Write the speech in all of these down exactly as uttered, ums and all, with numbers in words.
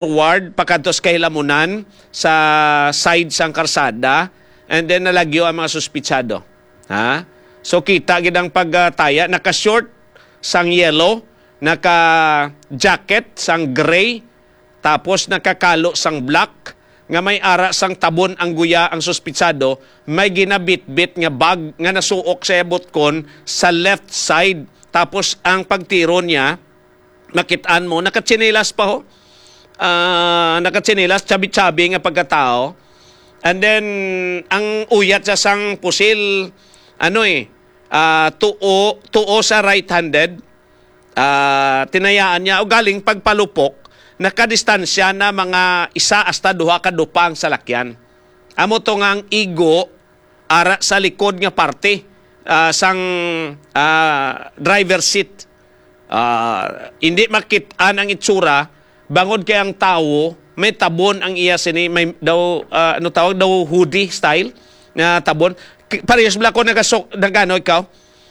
forward pakadto sa kahilamunan sa side sang karsada, and then nalagyo ang mga suspitsado. Ha? So, kita gid ang pagtaya. Naka-short sang yellow, naka-jacket sang gray, tapos nakakalo sang black, nga may ara sang tabon ang guya ang suspitsado, may ginabitbit nga bag nga nasuok sa iya butkon sa left side. Tapos ang pagtiro niya, makit-an mo, nakatsinelas pa ho. Ah, nakatsinelas, chabi-chabi nga pagkatao. And then, ang uyat sa sang pusil, ano eh, ah, tuo, tuo sa right-handed. Ah, tinayaan niya, o galing pagpalupok, nakadistansya na mga isa hasta duha ka dupa ang salakyan. Amo to nga ang igo ara sa likod nga parte, ah, sang, ah, driver seat. Ah, hindi makit-an ang itsura, bangod kay ang tawo may tabon ang iya sini, may daw, ah, ano tawag daw, hoodie style na tabon. K-, parehas bala ko nagasok, nagano ikaw?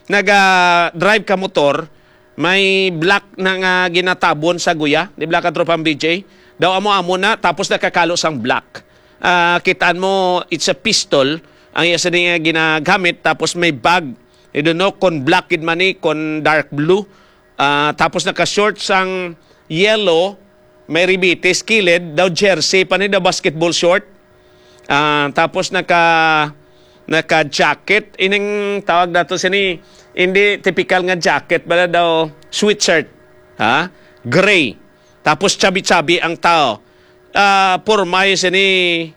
Naga-drive ka motor, may black na nga ginatabon sa guya, di bala ka, Tropang B J? Daw amo-amo na, tapos nakakalo sang black. Ah, kitaan mo, it's a pistol ang iya sini nga ginagamit, tapos may bag. I don't know kung black gid man ni, kung dark blue. Ah, tapos naka-short sang yellow, may ribitis kilid, daw jersey pa ni, daw basketball short. Ah, tapos naka, naka-jacket, ining tawag nato sini, hindi typical nga jacket, bala daw sweatshirt. Ha? Gray. Tapos chabi-chabi ang tao. Ah, porma sini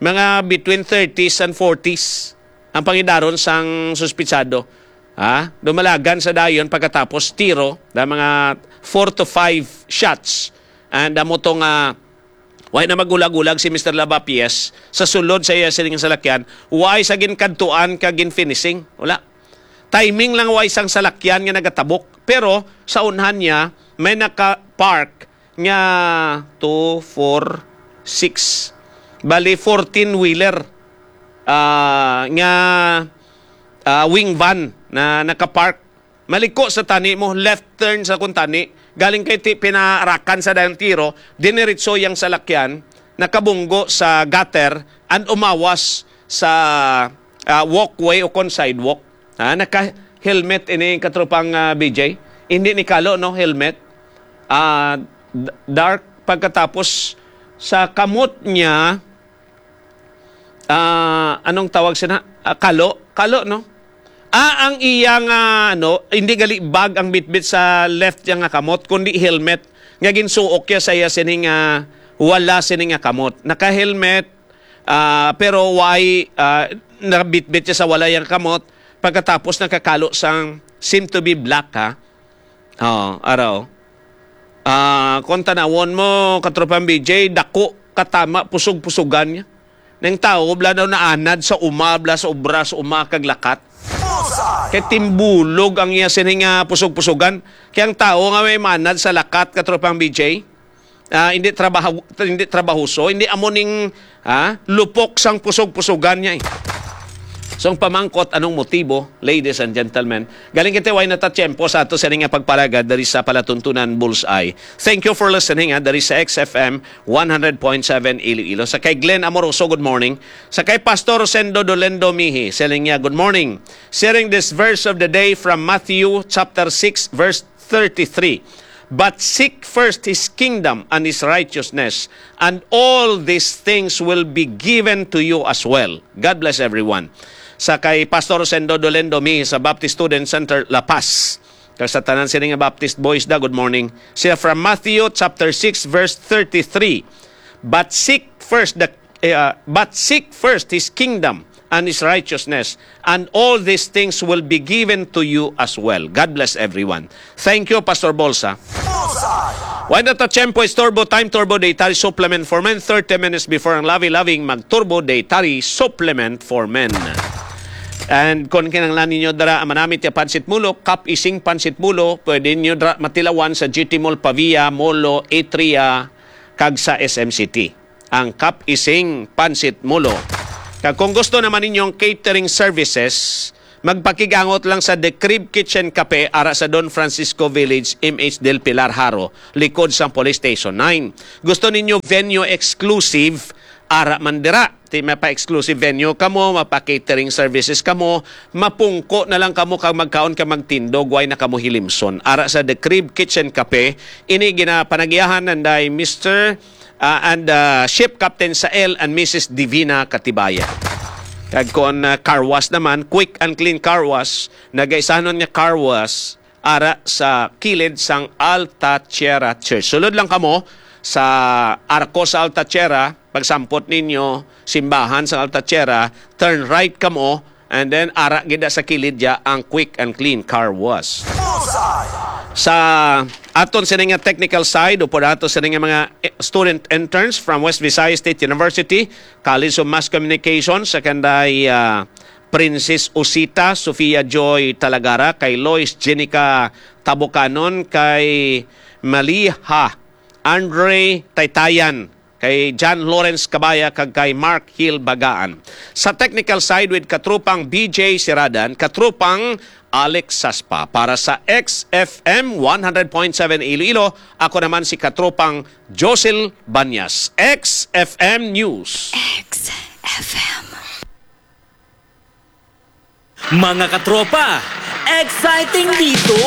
mga between thirties and forties ang pangidaron sang suspitsado. Ha? Dumalagan sa dayon pagkatapos tiro na mga four to five shots. And amo to nga, way na magulag-ulag si Mister Lavapies sa sulod sa iya sining salakyan, way sa ginkadtuan ka ginfinishing. Wala. Timing lang way sang salakyan nga nagatabok. Pero sa unhan niya, may naka-park nga two, four, six. Bali, fourteen-wheeler, ah, nga, ah, wing van na nakapark. Maliko sa tani mo, left turn sa kuntani. Galing kay ti-, pinaarakan sa dayong tiro, diniritso yang salakyan, nakabunggo sa gutter, and umawas sa, ah, walkway o kon sidewalk. Ha, naka-helmet ini, katropang, ah, B J. Hindi ni kalo, no, helmet. Ah, d-, dark. Pagkatapos, sa kamot niya, ah, anong tawag sina? Ah, kalo. Kalo, no? Ah, ang iya nga, ano, hindi gali bag ang bitbit sa left niya nga kamot, kundi helmet nga ginsuok niya sa iya sining, ah, wala sining nga kamot. Naka-helmet, ah, pero why, ah, nabitbit siya sa wala yang kamot pagkatapos nakakalo sang seem to be black, ha? Oh, araw. Ah, kung tanawon mo, katropang B J, dako, katama, pusog-pusugan niya. Nang tao, bala daw naanad sa uma, bala sa obra, sa uma, kag lakat. Kay timbulog ang iya sining, ah, pusog-pusugan. Kay ang tao nga may manad sa lakat, katropang B J, ah, hindi trabaho, hindi trabahoso, hindi amo ning, ah, lupok sang pusog-pusugan niya, eh. So, ang pamangkot, anong motibo, ladies and gentlemen? Galing kita, way na ta tiyempo sa ato sa nga pagpalagad diri sa Palatuntunan Bullseye. Thank you for listening, ah, diri sa X F M one hundred point seven Iloilo. Sa kay Glenn Amoroso, good morning. Sa kay Pastor Rosendo Dolendo Mihi, siling niya, good morning. Sharing this verse of the day from Matthew chapter six, verse thirty-three. "But seek first his kingdom and his righteousness, and all these things will be given to you as well." God bless everyone. Sa kay Pastor Rosendo Dolendo Mihi sa Baptist Student Center, La Paz. Kag sa tanan sini nga Baptist boys da, good morning. Siya from Matthew chapter six, verse thirty-three. "But seek first the, eh, ah, but seek first his kingdom and his righteousness, and all these things will be given to you as well." God bless everyone. Thank you, Pastor Bolsa. Bullseye! Way na ta tiyempo, it's Turbo Time, Turbo Dietary Supplement for Men. Thirty minutes before ang lavi-laving mag-Turbo Dietary Supplement for Men. And kung kinahanglan ninyo dara ang manamit nga pansit mulo, Kap Ising Pansit Mulo, pwede ninyo dara matilawan sa G T Mall Pavia, Molo, Atria, kag sa S M City. Ang Kap Ising Pansit Mulo. Kag kung gusto naman ninyong catering services, Magpakigangot lang sa The Crib Kitchen Cafe ara sa Don Francisco Village, M H Del Pilar, Jaro, likod sang Police Station nine. Gusto ninyo venue exclusive? Ara man dira. Ti mapa-exclusive venue kamo, mapa-catering services kamo, mapungko na lang kamo kag magkaon kag magtindog, way na kamo hilimson. Ara sa The Crib Kitchen Cafe, ini ginapanagiahan nanday Mister ah, and ah, ship captain Sael and Missus Divina Katibayan. Kag kon ah, car wash naman, Quick and Clean Car Wash, nagaisanon nga car wash ara sa kilid sang Alta Tierra Church. Sulod lang kamo sa Arcos Alta Tierra, pagsampot ninyo simbahan sa Alta Tierra, turn right kamo, and then ara gid sa kilid ya ang Quick and Clean Car Wash. Sa aton sini nga technical side, upod ato sini nga mga eh, student interns from West Visayas State University, College of Mass Communication, sa kanday ah, Princess Osita, Sofia Joy Talagara, kay Lois Jenica Tabukanon, kay Maliha Andre Taytayan, kay John Lawrence Kabaya, kag kay Mark Hill Bagaan. Sa technical side with katropang B J Siradan, katropang Alex Saspa. Para sa X F M one hundred point seven Iloilo, ako naman si katropang Josil Banyas. X F M News. X F M. Mga katropa, exciting dito!